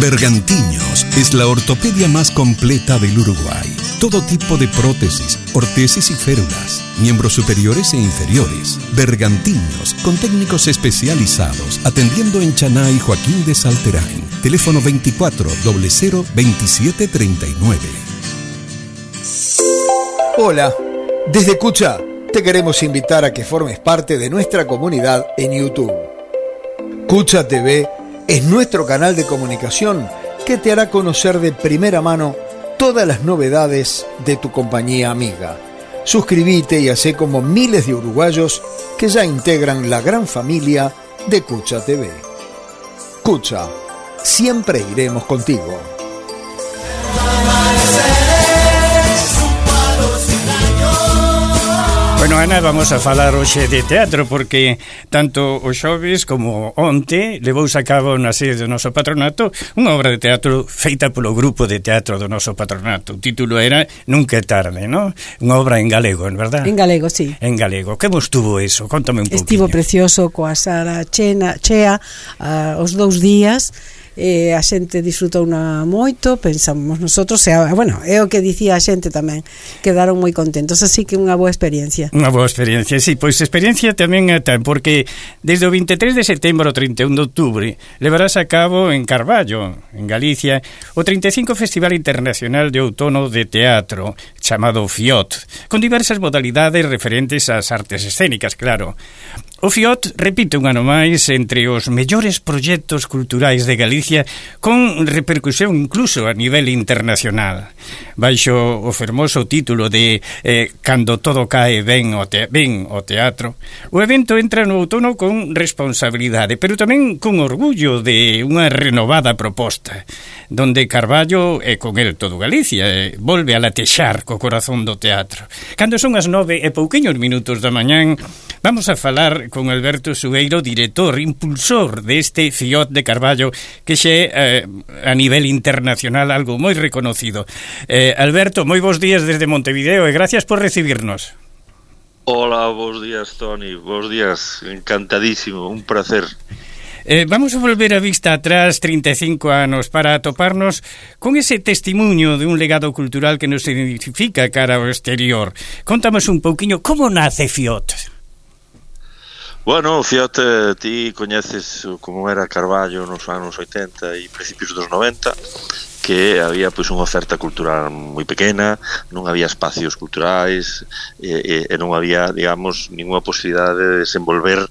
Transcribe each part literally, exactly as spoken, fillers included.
Bergantiños es la ortopedia más completa del Uruguay. Todo tipo de prótesis, ortesis y férulas, miembros superiores e inferiores. Bergantiños, con técnicos especializados, atendiendo en Chaná y Joaquín de Salterain. Teléfono veinticuatro cero cero veintisiete treinta y nueve. Hola, desde Cucha te queremos invitar a que formes parte de nuestra comunidad en YouTube. Cucha T V es nuestro canal de comunicación que te hará conocer de primera mano todas las novedades de tu compañía amiga. Suscríbete y hacé como miles de uruguayos que ya integran la gran familia de Cucha T V. Cucha, siempre iremos contigo. Bueno, Ana, vamos a falar hoxe de teatro porque tanto o xoves como onte levouse a cabo na sede do noso patronato unha obra de teatro feita polo grupo de teatro do noso patronato. O título era Nunca é tarde, non? Unha obra en galego, en verdad? En galego, sí. En galego. Que vos tuvo eso? Contame un pouquinho. Estivo precioso coa sala chena, chea uh, os dous días. Eh, a xente disfrutouna moito, pensamos nosotros, e, bueno, é o que dicía a xente tamén, quedaron moi contentos, así que unha boa experiencia. Unha boa experiencia, sí, pois experiencia tamén ten, porque desde o veintitrés de setembro ao trinta e un de outubro levarás a cabo en Carballo, en Galicia, o treinta e cinco Festival Internacional de Outono de Teatro, chamado FIOT, con diversas modalidades referentes ás artes escénicas, claro. O FIOT repite un ano máis entre os mellores proxectos culturais de Galicia con repercusión incluso a nivel internacional. Baixo o fermoso título de eh, Cando todo cae ben o, te ben o teatro, o evento entra no outono con responsabilidade, pero tamén con orgullo de unha renovada proposta, donde Carballo e con el todo Galicia eh, volve a latexar co corazón do teatro. Cando son as nove e pouquiños minutos da mañán, vamos a falar con Alberto Sueiro, director, impulsor deste FIOT de Carballo, que xe eh, a nivel internacional algo moi reconocido. Eh, Alberto, moi bons días desde Montevideo e gracias por recibirnos. Hola, bons días, Toni, bons días, encantadísimo, un placer. Eh, vamos a volver a vista atrás trinta e cinco anos para atoparnos con ese testimonio de un legado cultural que nos identifica cara ao exterior. Contamos un pouquiño como nace FIOT. Bueno, fíjate, ti coñeces como era Carballo nos anos oitenta e principios dos noventa, que había pois unha oferta cultural moi pequena, non había espacios culturais e, e, e non había, digamos, ninguna posibilidade de desenvolver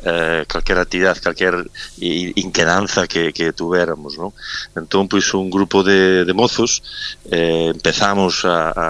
eh, calquera actividade, calquer inquedanza que, que tuveramos, non? Entón, pois, un grupo de, de mozos eh, empezamos a, a,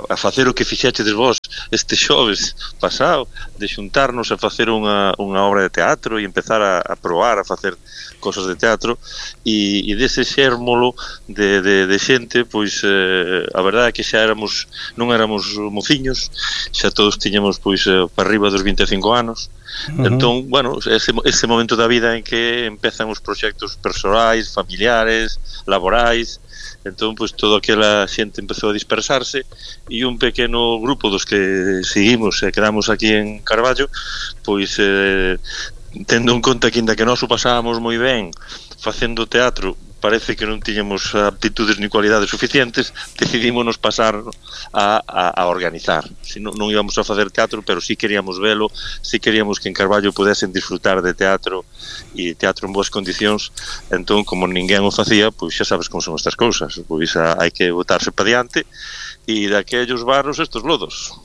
a facer o que fixechedes vos este xoves pasado, de xuntarnos a facer unha, unha obra de teatro e empezar a, a probar a facer cosas de teatro e, e dese xérmolo de, de, de xente, pois eh, a verdade é que xa éramos, non éramos mociños, xa todos tiñamos pois eh, para arriba dos vinte e cinco anos. Uh-huh. Entón, bueno, ese, ese momento da vida en que empezan os proxectos persoais, familiares, laborais. Entón, pois, toda aquela xente empezou a dispersarse e un pequeno grupo dos que seguimos e quedamos aquí en Carballo, pois, eh, tendo en conta que ainda que nós o pasábamos moi ben facendo teatro, parece que non tiñamos aptitudes ni cualidades suficientes, decidímonos pasar a, a, a organizar. Si non, non íbamos a facer teatro, pero sí queríamos velo, sí queríamos que en Carballo pudesen disfrutar de teatro e teatro en boas condicións. Entón, como ninguén o facía, pois xa sabes como son estas cousas, pois a, hai que botarse pa diante e daquellos barros estos lodos.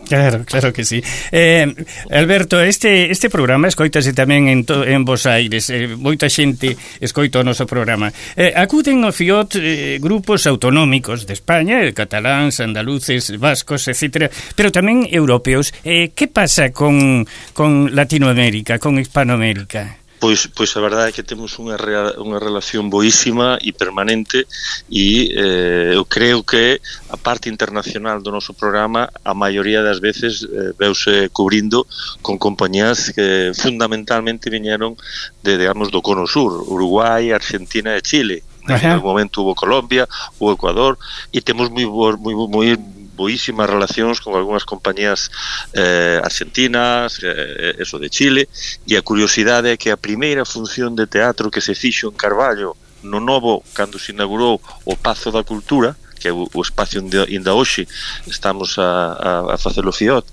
Claro, claro que sí. Eh, Alberto, este este programa escoítase tamén en, to, en Bos Aires. Eh, moita xente escoita o noso programa. Eh, acuden ao FIOT eh, grupos autonómicos de España, eh, cataláns, andaluces, vascos, etcétera, pero tamén europeos. Eh, que pasa con, con Latinoamérica, con Hispanoamérica? Pois, pois a verdade é que temos unha, rea, unha relación boísima e permanente e eh, eu creo que a parte internacional do noso programa a maioría das veces eh, veuse cubrindo con compañías que fundamentalmente viñeron de, digamos, do Cono Sur, Uruguai, Argentina e Chile. En algún momento hubo Colombia, hubo Ecuador e temos moi, moi, moi boísimas relacións con algunhas compañías eh, argentinas, eh, eso de Chile, e a curiosidade é que a primeira función de teatro que se fixo en Carballo no novo, cando se inaugurou o Pazo da Cultura, que é o, o espacio onde ainda hoxe estamos a, a, a facer o Fiot,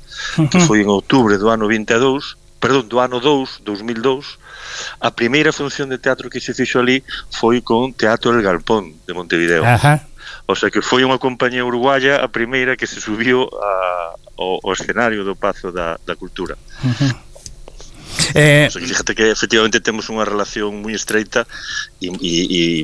que foi en outubro do ano vinte e dous, perdón, do ano dous, dos mil e dous. A primeira función de teatro que se fixo ali foi con Teatro El Galpón de Montevideo. Ajá. O sea que foi unha compañía uruguaya a primeira que se subiu a, ao, ao escenario do Pazo da, da Cultura. Uh-huh. Eh, o sea que fíjate que efectivamente temos unha relación moi estreita e, e,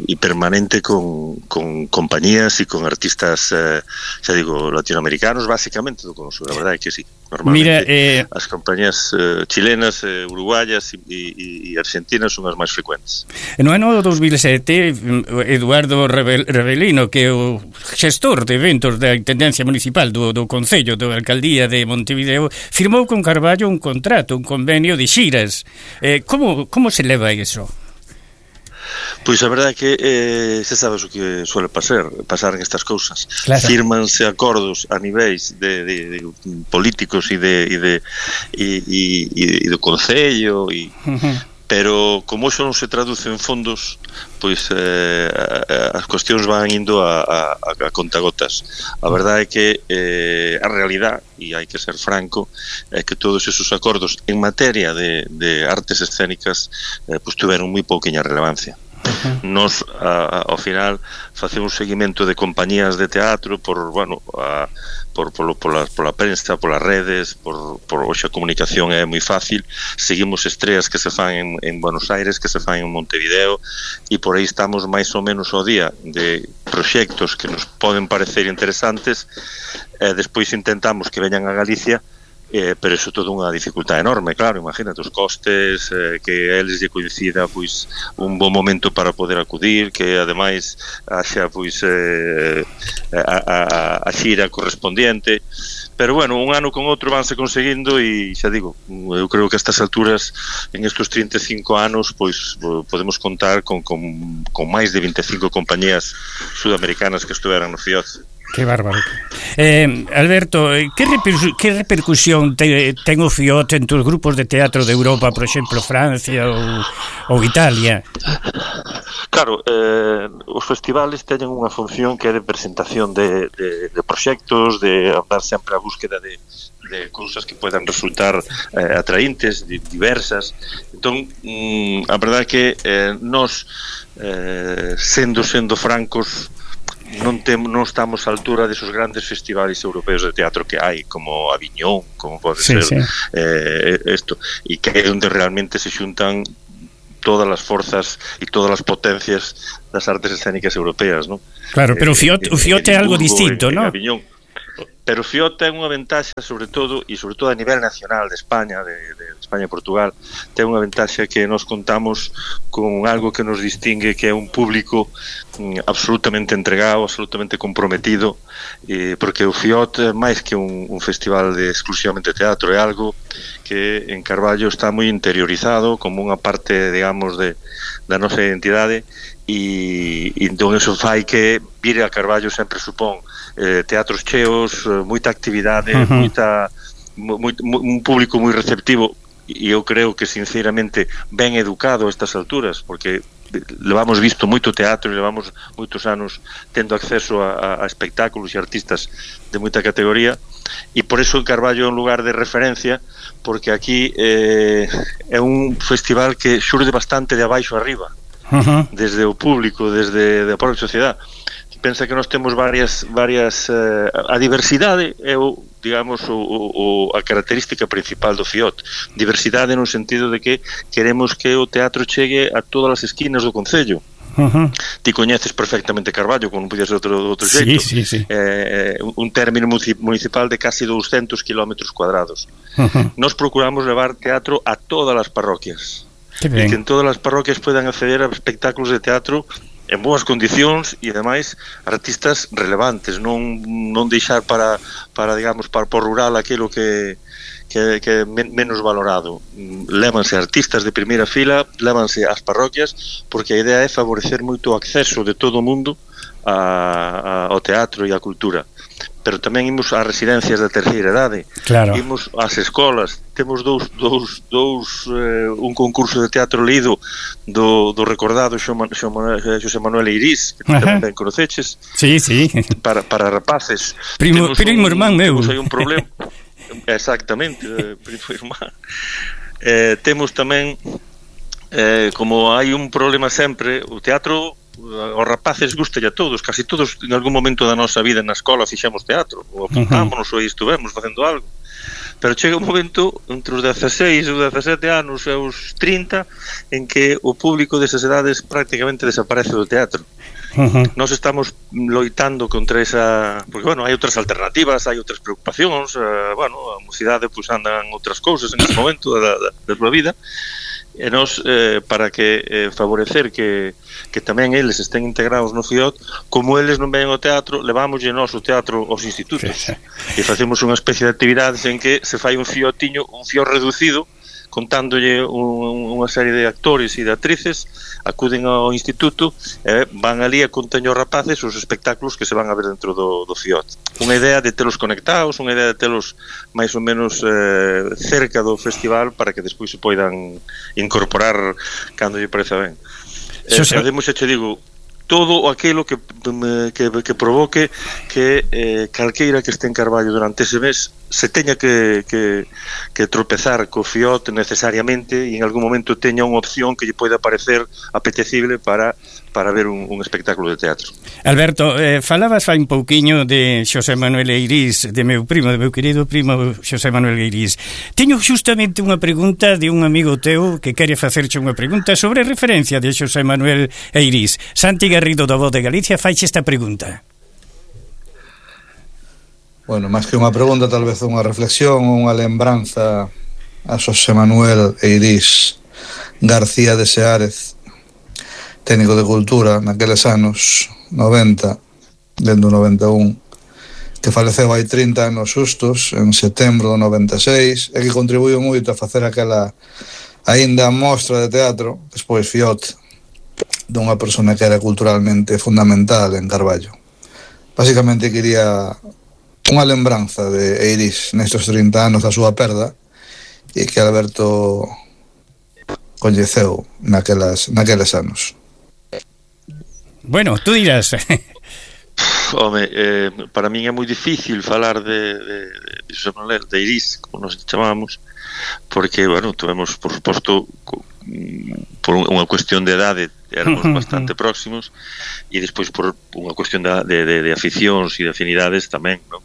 e permanente con, con compañías e con artistas, eh, xa digo, latinoamericanos basicamente do Cono Sur, a verdade é que sí. Normalmente mira, eh, as compañías eh, chilenas, eh, uruguayas e, e, e argentinas son as máis frecuentes. No ano dos mil sete, Eduardo Rebelino, que é o xestor de eventos da Intendencia Municipal do, do Concello, da Alcaldía de Montevideo, firmou con Carballo un contrato, un convenio de xiras. Eh, como, como se leva iso? Pois a verdade é que eh, se sabes o que suele pasar pasar en estas cousas, claro. Firmanse acordos a niveis de, de, de políticos e de, e de e, e, e do Concello e, uh-huh. Pero como iso non se traduce en fondos, pois eh, as cuestións van indo a, a, a contagotas. A verdade é que eh, a realidade, e hai que ser franco, é que todos esos acordos en materia de, de artes escénicas eh, pois tuveron moi pouquiña relevancia. Uh-huh. Nos a, a, ao final facemos seguimento de compañías de teatro por, bueno, a, por, por, por, la, por la prensa, por las redes, por, por hoxe a comunicación é moi fácil, seguimos estreas que se fan en, en Buenos Aires, que se fan en Montevideo, e por aí estamos máis ou menos ao día de proxectos que nos poden parecer interesantes, e despois intentamos que veñan a Galicia. Eh, pero iso todo unha dificultade enorme, claro, imagínate os costes, eh, que a eles lle coincida pois un bon momento para poder acudir, que ademais haxa pois eh, a, a, a xira correspondiente, pero bueno, un ano con outro vanse conseguindo e xa digo, eu creo que a estas alturas en estes trinta e cinco anos pois podemos contar con, con, con máis de vinte e cinco compañías sudamericanas que estuveran no Fiot. Que bárbaro. Eh, Alberto, que, reper, que repercusión te, ten o Fiot en tus grupos de teatro de Europa, por exemplo, Francia ou, ou Italia? Claro, eh, os festivales teñen unha función que é de presentación de, de, de proxectos, de andar sempre a búsqueda de, de cousas que podan resultar eh, atraíntes, diversas. Entón, mm, a verdade é que eh, nós, eh, sendo sendo francos, non temos non estamos á altura desos grandes festivais europeos de teatro que hai, como Aviñón, como pode sí, ser sí. Eh, isto, e que é onde realmente se xuntan todas as forzas e todas as potencias das artes escénicas europeas, non? Claro, pero o Fiot, o Fiot é algo distinto, non? Pero o Fiot ten unha ventaxa, sobre todo, e sobre todo a nivel nacional de España, de, de España e Portugal, ten unha ventaxa que nos contamos con algo que nos distingue, que é un público mm, absolutamente entregado, absolutamente comprometido, eh, porque o Fiot, máis que un, un festival de exclusivamente teatro, é algo que en Carballo está moi interiorizado como unha parte, digamos, de, da nosa identidade, e, e entón eso fai que vir a Carballo sempre supón eh, teatros cheos, moita actividade, uh-huh. moita, moi, un público moi receptivo, e eu creo que sinceramente ben educado a estas alturas, porque levamos visto moito teatro e levamos moitos anos tendo acceso a, a espectáculos e artistas de moita categoría, e por eso en Carballo é un lugar de referencia, porque aquí eh, é un festival que xurde bastante de abaixo arriba, uh-huh. desde o público, desde a propia sociedade. Pensa que nós temos varias varias eh, a diversidade é o, digamos, o, o, a característica principal do Fiot. Diversidade no sentido de que queremos que o teatro chegue a todas as esquinas do concello. Uh-huh. Ti coñeces perfectamente Carballo, como non podía ser outro, outro xeito. Sí, sí, sí. Eh, un término municipal de casi douscentos kilómetros cuadrados. Uh-huh. Nos procuramos levar teatro a todas as parroquias. Que e que en todas as parroquias podan acceder a espectáculos de teatro en boas condicións e ademais artistas relevantes, non non deixar para para digamos para por rural aquilo que que que men, menos valorado. Lévanse artistas de primeira fila, lévanse ás parroquias, porque a idea é favorecer moito o acceso de todo o mundo a, a, ao teatro e á cultura. pero tamén imos ás residencias da terceira idade, claro. Imos ás escolas, temos dous, dous, dous eh, un concurso de teatro lido do, do recordado Xosé Manuel Eirís, que tamén ben conoceches. Sí, sí. Para, para rapaces. Primo, primo un, irmán meu. Temos aí un problema. Exactamente, eh, primo irmán. Eh, temos tamén eh, como hai un problema sempre, o teatro aos rapaces gusta a todos, casi todos en algún momento da nosa vida na escola fixemos teatro, ou apuntámonos, uh-huh. ou estuvemos facendo algo, pero chega un momento entre os dezasseis ou dezasete anos e os trinta en que o público desas edades prácticamente desaparece do teatro. Uh-huh. Nós estamos loitando contra esa, porque bueno, hai outras alternativas, hai outras preocupacións, uh, bueno, a mocidade pois pues, andan outras cousas en ese momento da, da, da súa vida, e nós, eh, para que eh, favorecer que, que tamén eles estén integrados no F I O T, como eles non ven ao teatro, levámoslle nós o teatro aos institutos, sí, sí. E facemos unha especie de actividades en que se fai un fiotiño, un fio reducido, contándolle un, unha serie de actores e de actrices, acuden ao instituto e eh, van ali a contaño aos rapaces os espectáculos que se van a ver dentro do, do F I O T. Unha idea de telos conectados, unha idea de telos máis ou menos eh, cerca do festival para que despois se poidan incorporar cando lle pareza ben. Eh, Ademais, che digo, todo aquilo que, que, que provoque que eh, calqueira que este en Carballo durante ese mes se teña que, que, que tropezar co F I O T necesariamente e en algún momento teña unha opción que lle poida parecer apetecible para, para ver un, un espectáculo de teatro. Alberto, eh, falabas fai un pouquiño de Xosé Manuel Eirís, de meu primo, de meu querido primo Xosé Manuel Eirís. Teño justamente unha pregunta de un amigo teu que quere facerche unha pregunta sobre a referencia de Xosé Manuel Eirís. Santi Garrido da Voz de Galicia faiche esta pregunta. Bueno, máis que unha pregunta, tal vez unha reflexión ou unha lembranza a Xosé Manuel Eirís García de Seárez, técnico de cultura naqueles anos noventa, dentro do noventa e un, que faleceu hai trinta anos xustos, en setembro do noventa e seis, e que contribuiu moito a facer aquela aínda mostra de teatro, despois F I O T, dunha persona que era culturalmente fundamental en Carballo. Básicamente quería unha lembranza de Eirís nestes trinta anos da súa perda e que Alberto coñeceu naquelas, naqueles anos. Bueno, tú dirás. Home, eh, para min é moi difícil falar de, de, de, de, de Eirís, como nos chamamos, porque, bueno, tuvemos, por suposto, por unha cuestión de edade éramos bastante próximos e despois por unha cuestión de, de, de aficións e de afinidades tamén, non?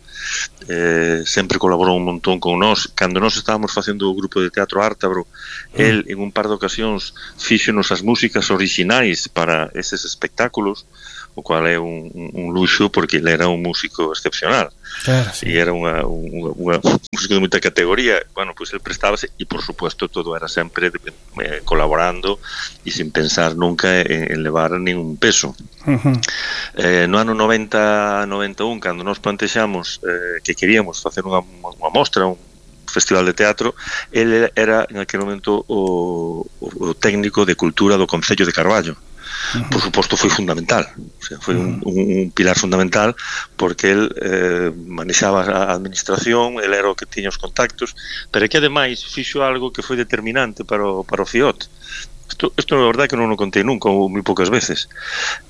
Eh, sempre colaborou un montón con nós. Cando nós estábamos facendo o grupo de teatro Ártabro, el en un par de ocasións fíxonos as músicas orixinais para eses espectáculos, o cual é un, un luxo porque ele era un músico excepcional. Claro, sí. E era unha, unha, unha música de moita categoría. Bueno, pois pues el prestábase e, por supuesto, todo era sempre eh, colaborando e sin pensar nunca en, en levar ningún peso. Uh-huh. Eh, no ano noventa noventa e un, cando nos plantexamos eh, que queríamos facer unha, unha mostra, un festival de teatro, ele era en aquel momento o, o técnico de cultura do Concello de Carballo. Uh-huh. Por suposto foi fundamental, o sea, foi un, un, un pilar fundamental porque el eh, manexaba a administración, el era o que tiña os contactos, pero que ademais fixo algo que foi determinante para o, para o F I O T. Isto, isto é verdade que non o contei nunca ou moi poucas veces.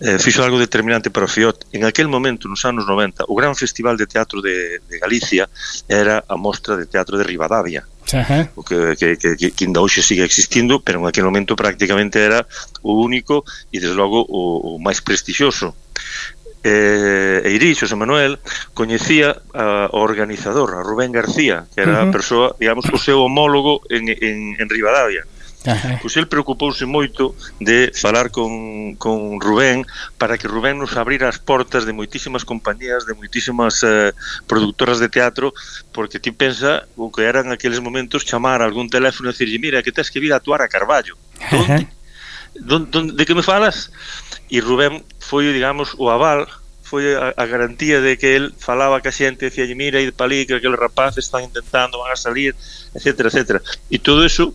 Eh, fixo algo determinante para o F I O T. En aquel momento, nos anos noventa, o gran festival de teatro de, de Galicia era a mostra de teatro de Ribadavia. Uh-huh. O que, que, que, que ainda hoxe sigue existindo, pero en aquel momento prácticamente era o único e desde logo o, o máis prestixioso. eh, Eirís, Xosé Manuel, coñecía a, o organizador, a Rubén García, que era uh-huh. a persoa, digamos, o seu homólogo en, en, en Ribadavia. Uh-huh. Pois el preocupouse moito de falar con, con Rubén para que Rubén nos abrira as portas de moitísimas compañías, de moitísimas eh, productoras de teatro, porque ti pensa o que eran aqueles momentos chamar a algún teléfono e dicirlle, mira, que tens que vir a actuar a Carballo. Donde? Uh-huh. Donde, de que me falas? E Rubén foi, digamos, o aval, foi a, a garantía de que el falaba ca xente, decía, mira, id pa ali, que aqueles rapaces están intentando, van a salir, etcétera, etcétera. E todo eso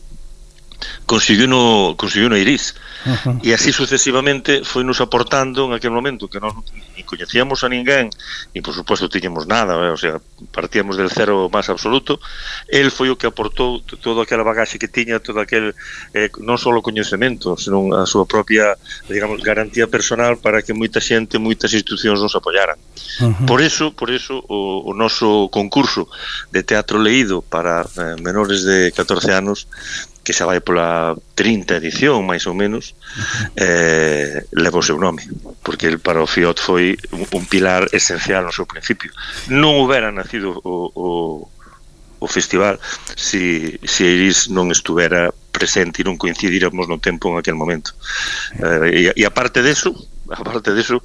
consiguiu no, consiguiu no Eirís. Uh-huh. E así sucesivamente foi nos aportando en aquel momento que nós ni coñecíamos a ninguén e por suposto tiñamos nada, eh? O sea, partíamos del cero máis absoluto. El foi o que aportou toda aquela bagaxe que tiña, todo aquel eh, non só o coñecemento, senón a súa propia, digamos, garantía personal para que moita xente, moitas institucións nos apoyaran. Uh-huh. Por eso, por eso o, o noso concurso de teatro leído para eh, menores de catorce anos, que xa vai pola trinta edición, máis ou menos, eh, leva o seu nome, porque el para o Fiot foi un, un pilar esencial no seu principio. Non houbera nacido o, o, o festival si, si Iris non estuvera presente e non coincidíramos no tempo en aquel momento. Eh, e, e aparte deso, aparte deso,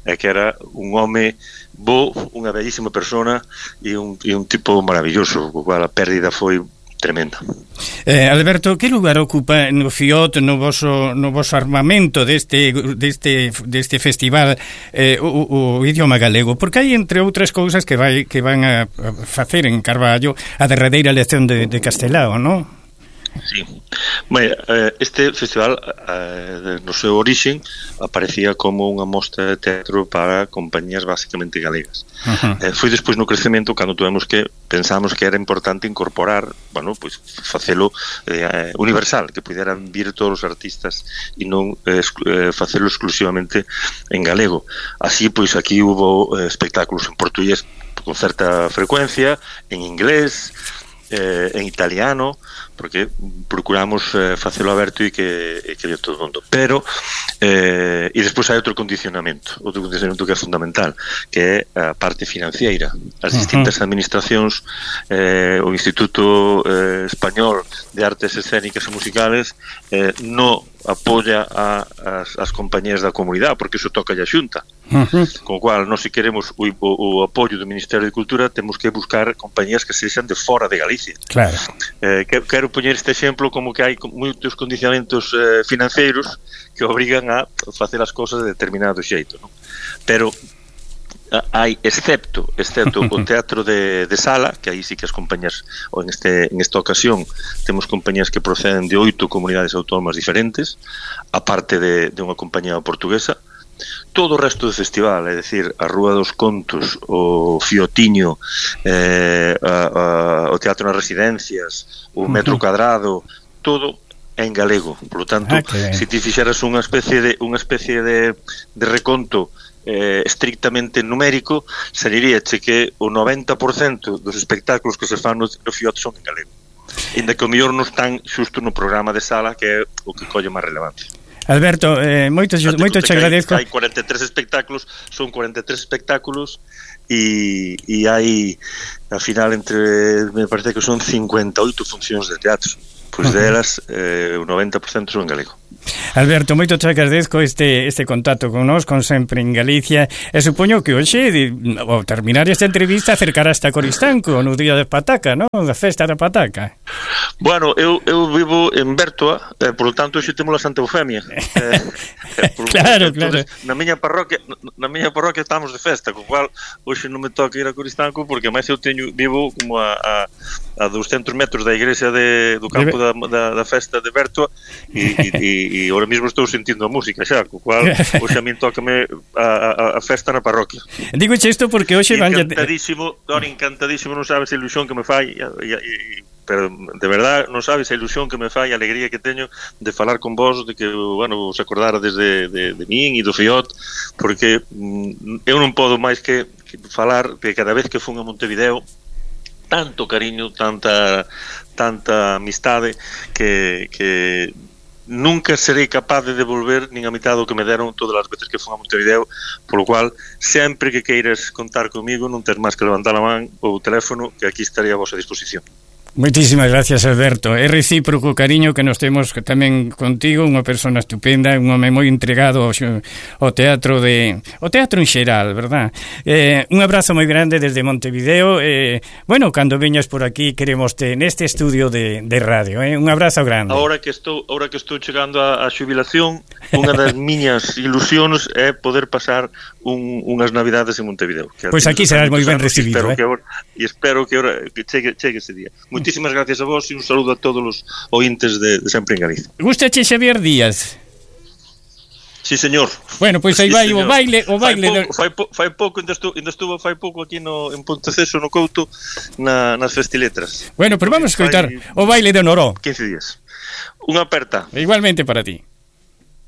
é que era un home bo, unha bellísima persona e un, e un tipo maravilloso, o cual a pérdida foi tremenda. Eh, Alberto, que lugar ocupa no Fiot, no voso, no voso armamento deste, deste, deste festival eh, o, o idioma galego? Porque hai, entre outras cousas, que vai que van a facer en Carballo a derradeira lección de, de castelao, non? Sí. Bueno, este festival no seu origen aparecía como unha mostra de teatro para compañías basicamente galegas. Uh-huh. Foi despois no crecemento cando tuvemos que pensamos que era importante incorporar, bueno, pois facelo eh, universal, que puderan vir todos os artistas e non eh, facelo exclusivamente en galego. Así, pois aquí hubo eh, espectáculos en portugués con certa frecuencia, en inglés, eh, en italiano, porque procuramos eh, facelo aberto e que, e que de todo o mundo. Pero, eh, e despois hai outro condicionamento, outro condicionamento que é fundamental, que é a parte financiera. As distintas uh-huh. administracións, eh, o Instituto eh, Español de Artes Escénicas e Musicales eh, non apoia a, as, as compañías da comunidade, porque iso toca a Xunta. Uh-huh. Con o cual, nós se queremos o, o, o apoio do Ministerio de Cultura, temos que buscar compañías que sexan de fora de Galicia. Claro. Eh, que, quero poñer este exemplo como que hai moitos condicionamentos eh, financeiros que obrigan a facer as cousas de determinado xeito, non? Pero hai, excepto excepto o teatro de, de sala, que aí sí que as compañías, ou en, este, en esta ocasión temos compañías que proceden de oito comunidades autónomas diferentes, aparte de, de unha compañía portuguesa. Todo o resto do festival, é dicir, a Rúa dos Contos, o Fiotiño, eh, a, a, o Teatro nas Residencias, o Metro Cadrado, todo é en galego. Por lo tanto, ah, se ti fixeras unha especie de unha especie de, de reconto eh, estrictamente numérico, saliríache que o noventa por cento dos espectáculos que se fan no, no Fiot son en galego. Inda que o mellor non están xusto no programa de sala, que é o que colle máis relevancia. Alberto, eh, moito, moito te agradezco. Hai cuarenta e tres espectáculos, son cuarenta e tres espectáculos e, e hai, al final, entre, me parece que son cincuenta e oito funcións de teatro. Pois uh-huh. delas, eh, o noventa por cento son en galego. Alberto, moito te agradezco este, este contacto con nós, con Sempre en Galicia, e supoño que hoxe, ao terminar esta entrevista, acercarás a Coristanco no día de Pataca, non? Da festa da Pataca. Bueno, eu, eu vivo en Bertoa, eh, por lo tanto, hoxe temos a Santa Eufemia. Eh, por, claro, entonces, claro. Na miña parroquia, na miña parroquia estamos de festa, con cual hoxe non me toca ir a Coristanco, porque máis eu teño, vivo como a, a, a douscentos metros da igrexa de, do campo da, da, da festa de Bertoa, e, e, e ahora mesmo estou sentindo a música xa, co cual hoxe a min tócame a, a, a festa na parroquia. Digo isto porque hoxe van encantadísimo, don encantadísimo, non sabes a ilusión que me fai, e, e, e, pero de verdad non sabes a ilusión que me fai, a alegría que teño de falar con vos, de que, bueno, vos acordara desde de, de min e do Fiot, porque mm, eu non podo máis que, que falar que cada vez que fun a Montevideo, tanto cariño, tanta tanta amistade que, que nunca serei capaz de devolver nin a mitad do que me deron todas as veces que fun a Montevideo, polo cual sempre que queiras contar comigo non tens máis que levantar a man ou o teléfono, que aquí estaría a vosa disposición. Moitísimas gracias, Alberto. É recíproco o cariño que nos temos tamén contigo, unha persona estupenda, un home moi entregado ao teatro de o teatro en xeral, verdad? Eh, un abrazo moi grande desde Montevideo. Eh, bueno, cando veñas por aquí queremoste neste estudio de, de radio, eh? Un abrazo grande. Ahora que estou, ahora que estou chegando a, a xubilación, unha das miñas ilusións é poder pasar un, unhas navidades en Montevideo. Pois pues aquí serás moi ben recibido, e espero, eh? que, ahora, e espero que, ahora, que chegue, chegue ese día. Moitísimas gracias a vos e un saludo a todos os ointes de, de Sempre en Galicia. Gústache Xavier Díaz? Sí, señor. Bueno, pois aí Sí, vai señor. o baile, o baile fai do... pouco, fai, po, fai pouco, ainda estuvo, ainda estuvo fai pouco aquí no, en Ponteceso, no Couto, na, nas festiletras. Bueno, pero vamos a escoitar Fai o baile de Noró. quince días. Unha aperta. Igualmente para ti.